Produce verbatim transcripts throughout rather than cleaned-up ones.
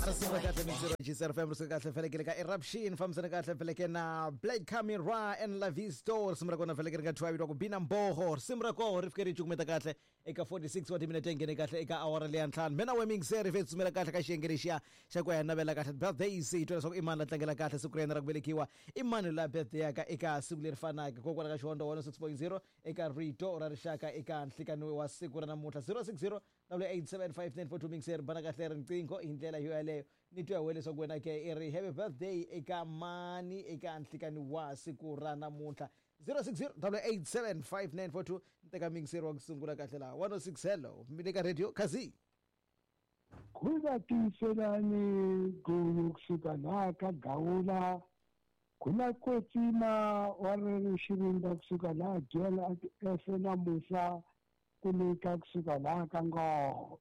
Risimu kahle mixero G C F M risimu kahle felekele ka Eruption fambisana kahle feleke na Black Camera and La Visto risimu ra kona feleke ri nga thwa vitiwa ku Bina Mboho risimu ra koho ri fike ri cukumeta kahle eka forty-six wa timinete nghene kahle eka awara leya ntlhanu mina we mixer fe tsumela kahle ka xiyenge lexiya xa ku ya navela kahle birthdays hi twa leswaku i mani la tlangela kahle siku ra yena ra ku velekiwa i mani la birthday yaka eka siku leri fanaka kokwala ka Xihondzo one oh six point zero eka Rito ra Rixaka eka nhlikani wa siku ra namuntlha zero six zero double eight seven five nine four two mixer bana kahle riqingho hi ndlela yo yaleyo ni twa wele leswaku wena ke i ri happy birthday eka mani eka nhlikani wa siku ra namuntlha zero six zero double eight seven five nine four two nteka mixer wa ku sungula kahle laha one oh six hello mi ka radio Khazi Khuza tiyiselani gulu kusuka laha ka Gawula kuna kwetsima wa ri xirinda kusuka laha Dyela F na Musa kunika kusuka laha ka Ngove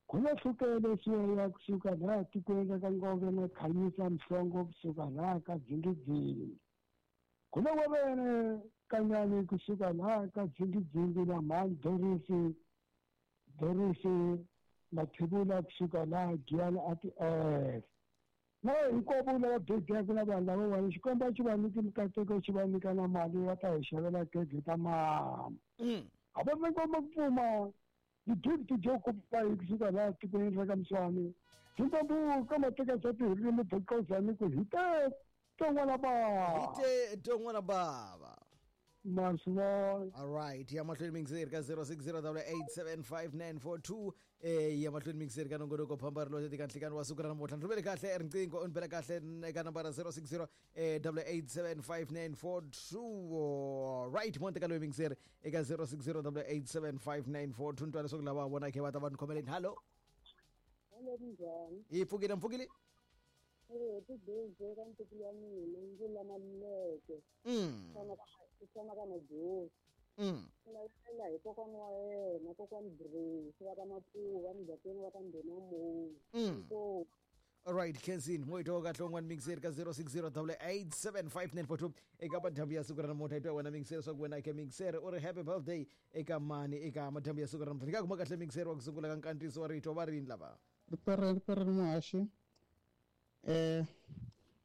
kuna hlukele siya kusuka laha tikweni ka Ngove na Khanyisa Mhlongo kusuka laha ka Dzingidzingi kuna wavene Kanyani kusuka laha ka Dzingidzingi na Mhani Dorisi Dorisi Mathebula kusuka laha Giyani ati F na hinkwavo lava bebiyaka na vanhu lava vanhu xikomba xi va nyiki mikateko xi va nyika na mali va ta hi xavela keke ta mama a va ngoma ku pfuma ti-gift jo kopa hi kusuka laha tikweni ra ka Mswani Zimbabwe ka mateka swa tirimi bokozani ku hi te ton'wana baba hi te ton'wana baba Maswa. All right, ya mahlweni mixer ka zero six zero double eight seven five nine four two eh ya mahlweni mixer ka nongonoko phambari lo tika nhlikani wa siku ra namuntlha ndzi kahle riqingho u ni bela kahle eka nambara zero six zero double eight seven five nine four two right monte ka loyi mixer eka zero six zero double eight seven five nine four two ntwana leswaku lava vona ke va ta va ni khomeleni hello hello njhani hi pfukile mpfukile eh ti birthday ka ntukulu wa mina ndzi lama leke mm tshama ka Majosi mm lavela hi kokwana wa yena kokwana Grace va ka Mapuva mugangeni wa ka Ndhuna Moyi mm all right Kenzin moito kahle un'wana mixer ka zero six zero double eight seven five nine four two eka madyambu ya siku ra namuntlha hi twa wena mixer swa ku wena ke mixer u ri happy birthday eka mani eka madyambu ya siku ra namuntlha ni ka kuma kahle mixer wa ku sungula ka nkandziyiso wa rito va rini lava ripere ripere muhaxi eh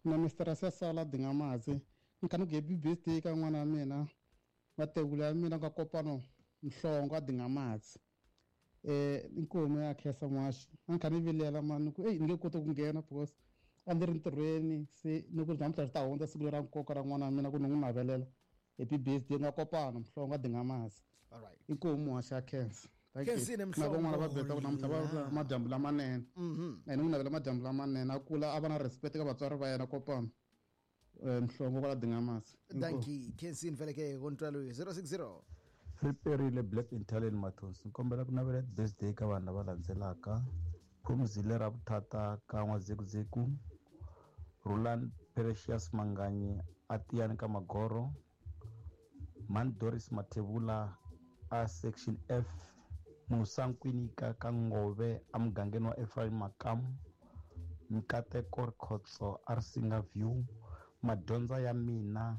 na Mister Sasala Dingamazi nkanu ku happy birthday ka n'wana wa mina mategula ya mina ka Kopano Mhlongo a Dingamazi eh inkomo ya khesa muhaxi a kha ni vilela mani ku ei ni nge koti ku nghena because a ndzi ri ntirhweni se ni ku namuntlha swi ta hundza siku ra nkoka ra n'wana wa mina ku ni n'wi navelela happy birthday nga Kopano Mhlongo a Dingamazi all right inkomo muhaxi ya khensa na van'wana va beta ku namuntlha va madyambu lamanene ene n'wi navela madyambu lamanene a kula a va na respect ka vatswari va yena Kopano Mhlongo kwala Dingamazi dankie Kenzin veleke kontwalo zero six zero Riperile Black Italian Mathonsi nkombela ku navela birthday ka vanhu lava landzelaka Phumzile ra Vuthata ka N'wazekuzeku Roland Precious Manganyi Atiyani ka Magoro Man Doris Mathebula a section F Musa Nkwinika ka Ngove emugangeni wa Ephraim Makamu Mikateko Rikhotso a Risinga View Madyondza ya mina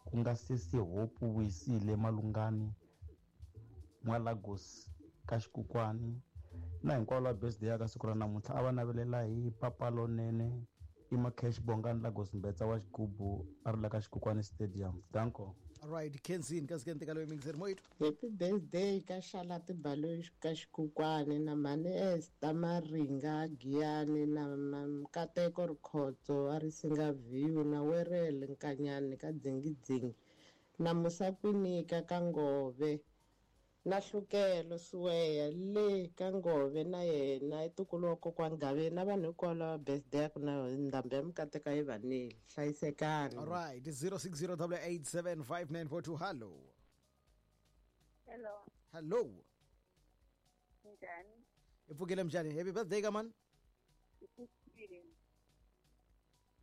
ku nga sesi Hope Vuyisile Malungani N'wa-Lagos ka Xikukwani na hinkwavo lava birthday ya ka siku ra namuntlha a va navelela hi papa lonene i Macash Bongani Lagos Mbetsa wa Xigubu a ri la ka Xikukwani Stadium danko all right Kenzin ka sikente ka loyi mixer moito happy birthday ka Xala Tibalo ka Xikukwani na Mhani Esther Maringa Giyani na Mkateko Rikhotso a Risinga View na Werele Nkanyani ka Dzingidzingi na Musa Kwinika ka Ngove na Hlukelo Suweya le ka Ngove na yena i ntukulu wa kokwana Gaveni na vanhu hinkwavo lava birthday ku na ndhambi ya mikateka yi vanile hlayisekani all right zero six zero double eight seven five nine four two hello hello hello njhani hi pfukile mjani happy birthday ka mani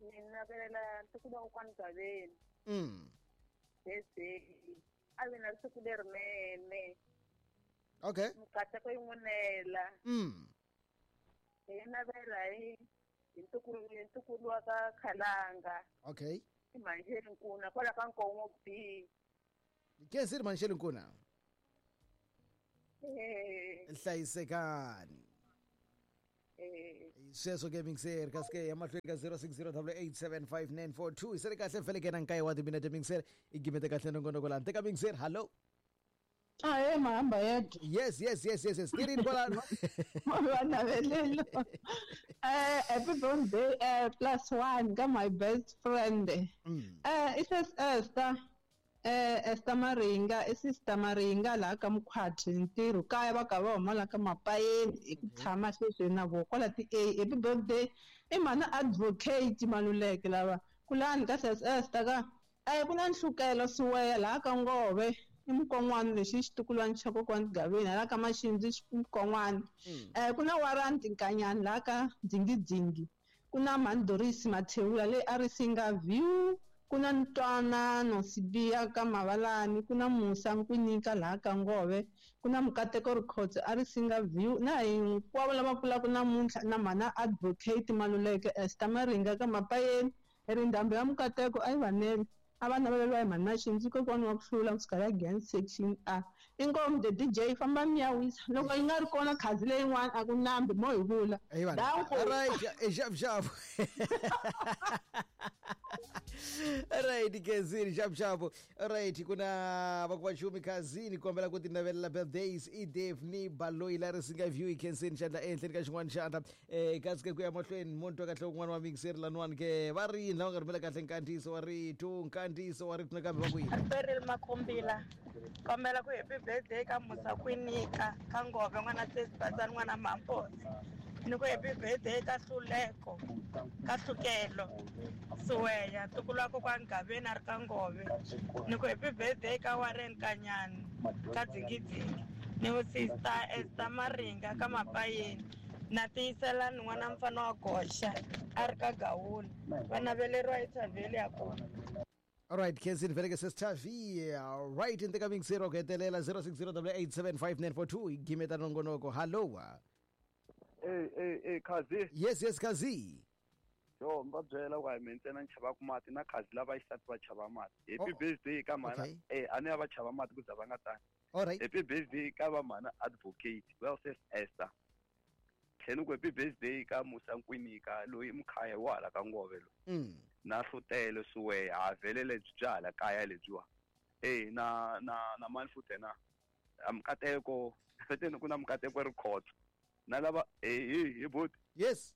ni navelela ntukulu wa kokwana Gaveni mm birthday a vi na siku lerinene okay mikateko yi n'winela mm hi navela hi hi ntukulu hi ntukulu wa ka Khalanga okay i Manxeni Nkuna kwala ka Nkongo B Kenzini Manxeni Nkuna eh hlayisekani Eh Sweswo ke mixer kasi ke ya mahlweni ka zero six zero double eight seven five nine four two se ri kahle feleke na nkaye wa timinete mixer i gimete kahle nongonoko lani teka mixer hallo. Ahe mahamba yedwa. Yes yes yes yes yes tirini kwalano. Vanavelelo. Eh happy birthday eh plus one ka my best friend. Mm. Eh it is Esther. Eh Esther Maringa, i sister Maringa laha ka Mkhwati ntirho kaya va ka va huma la ka Mapayeni hi ku tshama sweswi na vo kwala ti A happy birthday i mhana advocate Maluleke lava kulani ka sis Esther ka eh ku na nhlukelo siweya laha ka Ngove i mukon'wana lexi i xitukulwana xa kokwani Gaveni hala ka Maxindzi mukon'wana eh ku na Warranty Nkanyani laha ka Dzingidzingi ku na Mandorisi Mathewula leyi a ri Singa View ku na Ntwanano Sibiya ka Mavalani ku na Musa Nkwinika laha ka Ngove ku na Mukateko Rikhotso a ri Singa View na hinkwavo lava kulaka namuntlha na mhana advocate Maluleke Esther Maringa ka Mapayeni ri ndhambi ya Mukateko a yi vanele a va naveleriwa hi mhani Maxindzi kokwana wa ku hlula kusuka la Giyani section A inkomu the D J famba mi ya wisa loko yi nga ri kona khazi leyin'wana a ku nambi mo hi vula Hey vanhu. Danko. All right, eh, xavu xavu. All right, Kazini xavu xavu. All right, ku na va ku va xumi Kazini kombela ku ti navelela birthdays i Daphne Baloyi la ri Singa View i Kensini xandla ehenhleni ka xin'wana xandla eh kasi ke ku ya mahlweni munhu twa kahle un'wana wa mixer laniwani ke va ri yini lava nga rhumela kahle nkandziyiso wa rito nkandziyiso wa rito nakambe va ku yini Cyril Makumbila kombela ku happy birthday ka Musa Kwinika ka Ngove n'wana Sesibasani n'wana Mamposi ni ku happy birthday ka Hluleko ka Hlukelo Suweya ntukulu wa kokwani Gaveni a ri ka Ngove ni ku happy birthday ka Warren Kanyani ka Dzingidzingi ni ku sister Esther Maringa ka Mapayeni na Tiyiselani n'wana mfana wa Goxa a ri ka Gawula va naveleriwa hi Thavheli ya kona. All right, Kensini vele ke sesithavi. All right, in the mixer ku hetelela zero six zero double eight seven five nine four two gimeta nongonoko. Hello. Eh eh eh Khazi. Yes yes Khazi. Yo mba byela ku a hi mina ntsena ni chavaka mati na Khazi lava xisati va chava mati. Happy Oh, birthday ka mhana okay. eh a ni ya va chava mati ku za va nga tani. All right. Happy birthday ka va mhana advocate well says Esther. Tlhela ku happy birthday ka Musa Nkwinika loyi mukhaya wa hala ka Ngove lo. Mm. Na Hlutele Suweya ha vele lebyi bya hala kaya lebyiwa. Eh na na na mani futhi na Mukateko feteni ku na Mukateko Rikhotso. Na lava eh hi hi buti. Yes.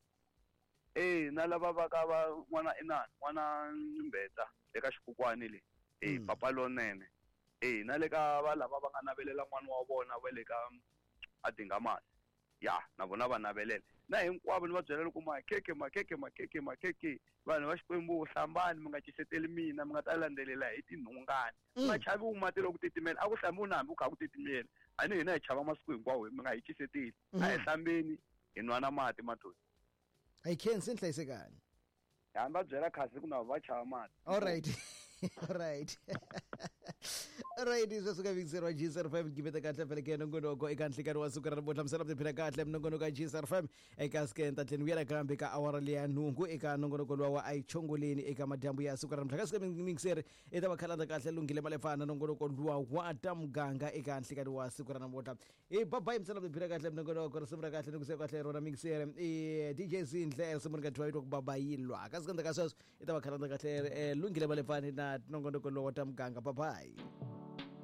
Eh na lava va ka va n'wana inani n'wana Mbeta eka xikukwani le. Eh Mm. papa lonene. Eh na le ka va lava va nga navelela n'wana wa vona va le ka Adingamasi. Ya na vona va navelela. Na hinkwavo ni va byela loko makhekhe makhekhe makhekhe makhekhe vanhu va Xikwembu hlambani mi nga ciseteli mina mi nga ta landzelela hi tinhungani. Mm. Ma chavi wu mati loko ku titimela a ku hlambi u na hambi ku kha ku titimela. A ni hina hi chava masiku hinkwawo mi nga hi ciseteli. A hi Mm. hlambeni hi nwa na mati mathoni. Hi Kensini hlayisekani. Hambi va byela Khazi ku na va chava mati. All right. All right. All right, sweswo ka mixer wa G zero five gimeta kahle vele ke nongonoko eka nhlikani wa siku ra namuntlha misala tiphina kahle minongonoko ya G zero five eka sike tlheni vuyela kambe ka awara leya nhungu eka nongonoko luwa wa ayichongoleni eka madyambu ya siku ra namuntlha kasi ke mixer i ta va khalanda kahle lunghile malefana nongonoko luwa wa ta muganga eka nhlikani wa siku ra namuntlha i babayi misala tiphina kahle minongonoko risimu ra kahle ni ku se kahle rona mixer i D J Zindle risimu ri nga dyiwa yitwa ku babayilwa kasi ke ndzhaku ka sweswo i ta va khalanda kahle lunghile malefana na nongonoko luwa wa ta muganga babayi.